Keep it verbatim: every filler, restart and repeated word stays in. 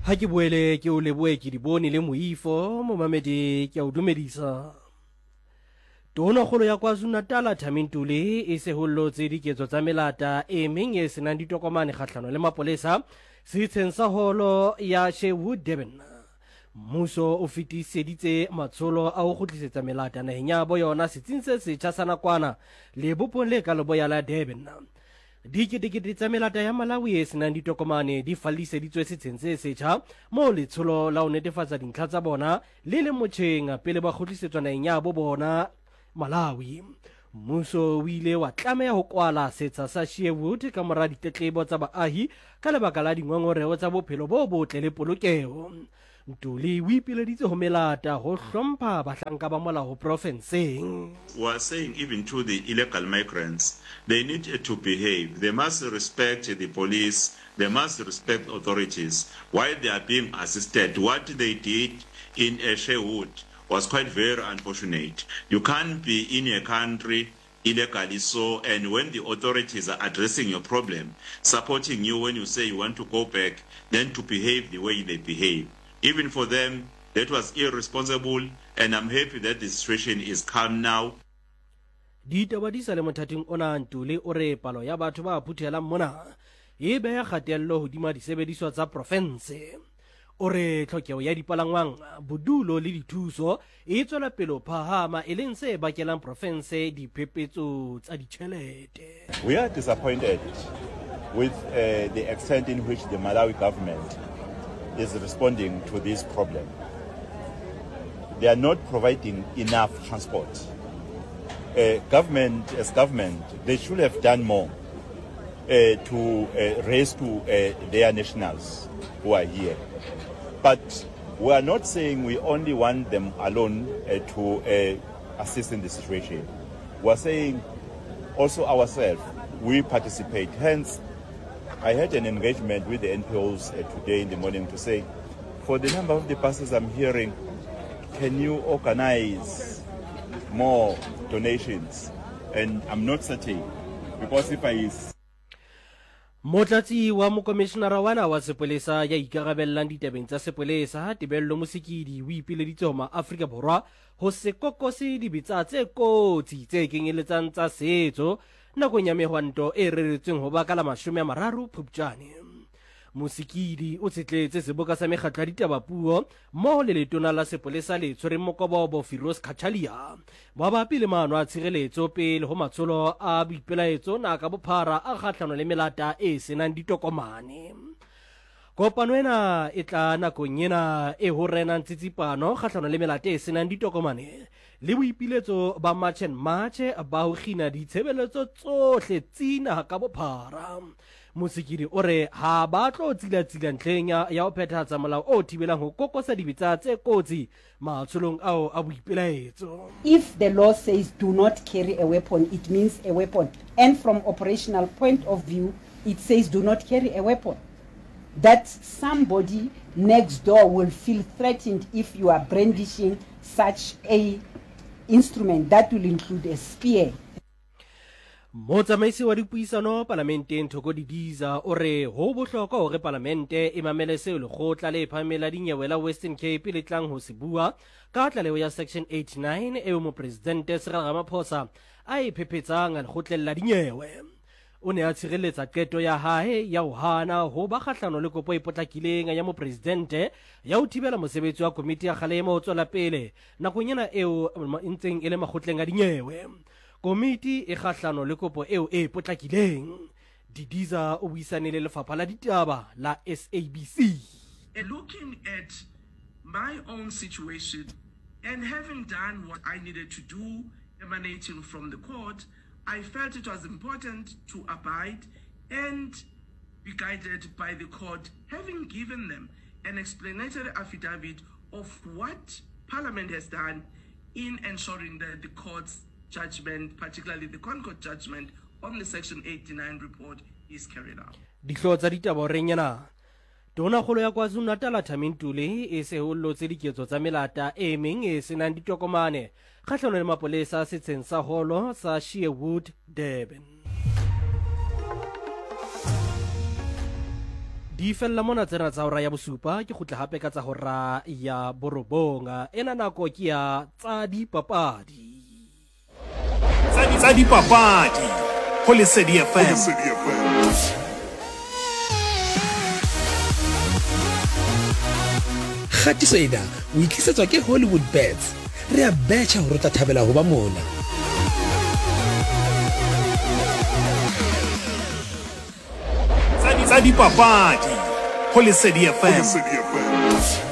Ha ke boele ke o lebohe ke di bone le moifo momamedi ke a o dumedisa. Tonakgolo ya KwaZulu-Natal Thami Ntuli e sehollotse diketso tsa melata e meng e senang ditokomane kgahlano le mapolesa setsheng sa holo ya Sherwood Durban. Mmuso o fetiseditse matsholo a ho kgutlisetsa melata naheng ya bo yona setsing se setjha sa nakwana lebopong le ka leboya la Durban. Diketekete tsa melata ya Malawi e senang ditokomane di falliseditswe setsheng se setjha moo letsholo la ho netefatsa dintlha tsa bona le leng motjheng pele ba kgutlisetswa naheng ya bo bona Malawi. Mmuso o ile wa tlameha ho kwala setsha sa Sherwood ka mora ditletlebo tsa baahi ka lebaka la dingongoreho tsa bophelo bo botle le polokeho. Ntuli o ipileditse ho melata ho hlompha bahlanka ba molao profenseng. We are saying even to the illegal migrants, they need to behave. They must respect the police, they must respect authorities while they are being assisted. What they did in Sherwood was quite very unfortunate. You can't be in a country illegally so, and when the authorities are addressing your problem, supporting you when you say you want to go back, then to behave the way they behave. Even for them, that was irresponsible, and I'm happy that the situation is calm now. Ditaba di sa le mothating ona. Ntuli o re palo ya batho ba phuthelang mona e beha kgatello hodima disebediswa tsa profense. O re tlhokeho ya dipalangwang, bodulo le dithuso e tswela pele ho phahama, e leng se bakelang profense diphephetso tsa ditjhelete. We are disappointed with uh, the extent in which the Malawi government is responding to this problem. They are not providing enough transport. Uh, government, as government, they should have done more uh, to uh, rescue uh, their nationals who are here. But we are not saying we only want them alone uh, to uh, assist in the situation. We are saying also ourselves, we participate. Hence, I had an engagement with the N P Os uh, today in the morning to say, for the number of the buses I'm hearing, can you organize more donations? And I'm not certain, because if I Motlatsi wa mokomishenara wa naha wa sepolesa ya ikarabellang ditabeng tsa sepolesa Tebello Mosikili o ipileditse ho maAfrika Borwa ho se kokose dibetsa tse kotsi tse kenyeletsang tsa setso nakong ya mehwanto e reretsweng ho ba ka la mashome a mararo Phupjane. Mosikili o tshetletse seboka sa mekgatlo ya ditaba puo mmoho le letona la sepolesa le tshwereng mokobobo Firoz Cachalia mabapi le maano a tshireletso pele ho matsholo a boipelaetso naha ka bophara a kgahlano le melata e senang ditokomane. Kopano ena e tla nakong ena e ho renang tsitsipano kgahlano le melata e senang ditokomane le boipiletso ba March and March ba ho kgina ditshebeletso tsohle tsi naha ka bophara. Mosikili o re ha ba tlo tsilatsila ntlheng ya ya ho phethahatsa molao o thibelang ho kokosa dibetsa tse kotsi matsholong ao a boipelaetso. If the law says do not carry a weapon, it means a weapon. And from operational point of view, it says do not carry a weapon. That somebody next door will feel threatened if you are brandishing such a instrument that will include a spear. Motsamaisi wa dipuisano palamenteng Thoko Didiza o re ho bohlokwa hore palamente e mamele seo lekgotla le phahameng la dinyewe la Western Cape le tlang ho se bua ka tlaleho ya Section eighty-nine eo mopresidente Cyril Ramaphosa a e phephetsang lekgotleng la dinyewe. O ne a tshireletsa qeto ya hae ya ho hana ho ba kgahlano le kopo e potlakileng ya mopresidente ya ho thibela mosebetsi wa komiti ya kgalemo ho tswela pele nakong ena eo e ntseng e le makgotleng a dinyewe. Komiti e kgahlano le kopo eo e potlakileng. Didiza o buisane le lefapha la ditaba la S A B C. Looking at my own situation and having done what I needed to do emanating from the court, I felt it was important to abide and be guided by the court, having given them an explanatory affidavit of what Parliament has done in ensuring that the court's judgment, particularly the ConCourt judgment on the Section eighty-nine report, is carried out. Dihlooho tsa ditaba horeng ena. Tonakgolo ya KwaZulu-Natal Thami Ntuli e sehollotse diketso tsa melata e meng e senang ditokomane kgahlano le mapolesa setsheng sa holo sa Sherwood Durban. Di fella mona tsena tsa hora ya bosupa, ke kgutla hape ka tsa hora ya borobong. Ena nako ke ya tsa dipapadi. Tsa dipapadi ho Lesedi F M. Kgatiso ena o itlisetswa ke Hollywood Bets. Re a betjha hore o tla thabela ho ba mona. Tsa dipapadi ho Lesedi F M.